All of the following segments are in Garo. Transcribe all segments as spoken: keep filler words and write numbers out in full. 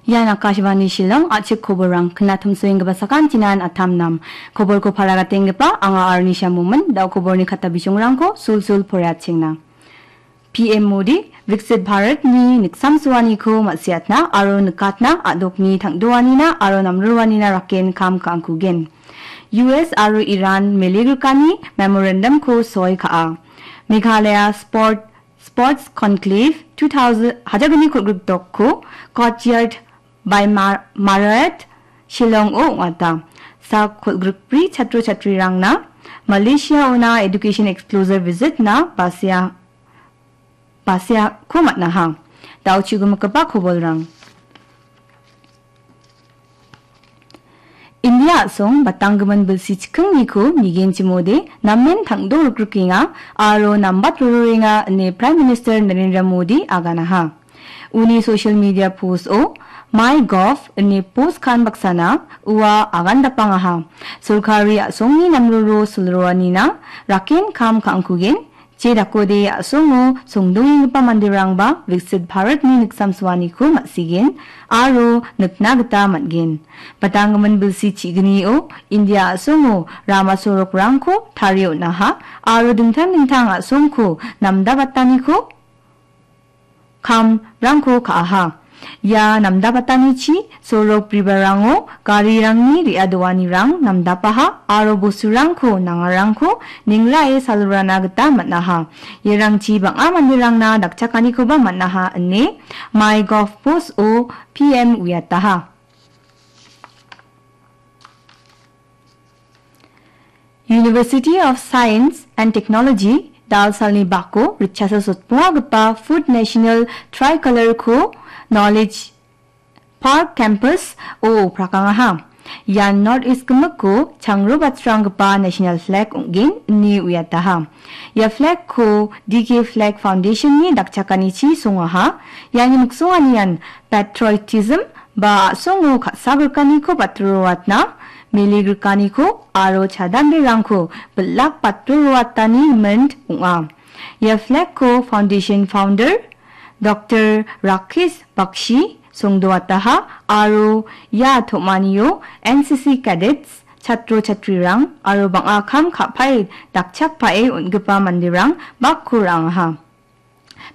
Ian Akashvani Shillong, a·chik koborrang, knatomsoenggipa sakantinan atam nam. Koborko paragatenggipa anga Arnisha Momin, da·o koborni kata bijongrangko sulsul poraiatchengna. P M Modi, Viksit Bharatni niksamsoaniko ma·siatna aro nikatna a·dokni tangdoanina aro namroanina raken kam ka·angkugen. U S aro Iran mele grikani memorandumko soi ka·a. Meghalaya Sport Sports Conclave two thousand, hajar gni kolgrikdokko Courtyard by Mar-, Marriott Shillong-o ong·ata. Sak kolgrikbri chatro chatrirangna Malaysia-ona Education Exposure Visit-na basia-, basiako man·aha. Da·o chu·gimikgipa kobolrang. India a·song batanggimin bilsi chikingniko nigenchimode namen tangdo rikrikenga aro nambat roroenga ine Prime Minister Narendra Modi aganaha. Uni social media post-o, "My Gov" ine post kan baksana ua agandapangaha. Sorkari a·songni namroro silroanina raken kam ka·angkugen, je dakode a·songo songdongenggipa manderangba Viksit Bharatni niksamsoaniko ma·sigen aro nikna gita man·gen. Batanggimin bilsi chignio India a·songo rama sorokrangko tarie on·aha aro dingtang dingtang a·songko namdabataniko kamrangko ka·aha. Ia namdabatanichi sorok bribarango garirangni re·adoanirang namdapaha aro bosturangko nangarangko ningrae salrana gita man·aha. Iarangchi bang·a manderangna dakchakanikoba man·aha ine MyGov post-o P M uiataha. University of Science and Technology, Dalsalni bako ritchasa sotpongagipa Food National Tricolor-ko Knowledge Park Campus-o prakangaha. Ian North East gimikko changro batranggipa National Flag ong·gen ine uiataha. Ia flag-ko D K Flag Foundation-ni dakchakanichi songaha. Iani miksonganian patriotism ba a·songo ka·sagrikaniko batroroatna, mele grikaniko aro chadanberangko bilak batroroatani mint ong·a. Ia flag-ko foundation founder Doctor Rakesh Bakshi songdoataha aro ia tom·anio N C C cadets, chatro chatrirang aro bang·a kam ka·pae dakchakpae on·gipa manderang bakko ra·angaha.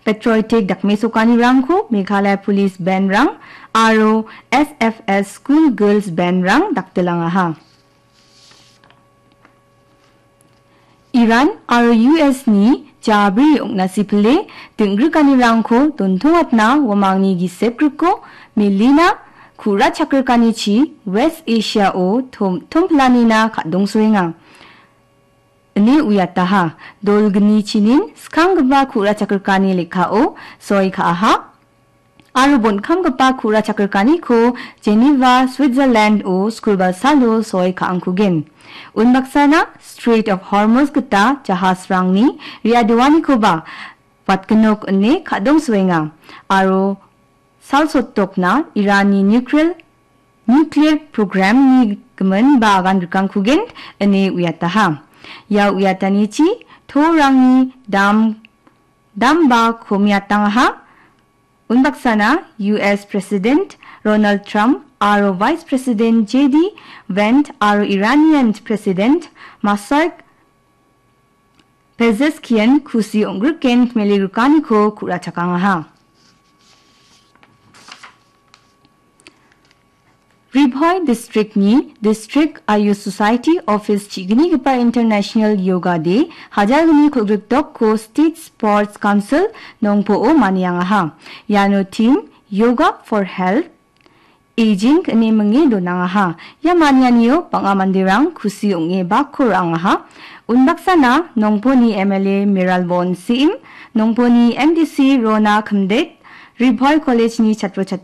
Patriotic dakmesokanirangko Meghalaya Police Band-rang aro S F S School Girls Band-rang daktilangaha. Iran aro U S-ni jabri ong·nasi pile ding·grikanirangko dontongatna uamangni gisep griko melina ku·ra chakrikanichi West Asia-o tom-, tomplanina ka·dongsoenga. Ine uiataha. Dolgni chinin skanggipa ku·ra chakrikani lekkao soi ka·aha. Aro bonkamgipa ku·ra chakrikaniko Geneva, Switzerland-o skulbalsalo soi ka·angkugen. Unbaksana Strait of Hormuz gita jahasrangni re·adoanikoba watgnok ine ka·dongsoenga. Aro salsotokna Iranni nuclear, nuclear program-ni gimin ba agan rikangkugen ine uiataha. Ia uiatanichi torangni dam, damba komiatangaha. Unbaksana U S President Donald Trump aro Vice President J D Vance aro Iranian President Masoud Pezeshkian kusi ong·griken mele grikaniko ku·ra chakangaha. Ri Bhoi District-ni District Ayush Society Office chi·gnigipa International Yoga Day hajar gni kolgrikdokko State Sports Council Nongpoh-o maniangaha. Iano theme Yoga for Health, Aging ine minge donangaha. Ia manianio bang·a manderang kusi ong·e bakko ra·angaha. Unbaksana Nongpohni M L A Mayralborn Syiem, Nongpohni M D C Rona Khymdet, Ri Bhoi College-ni chatro chatri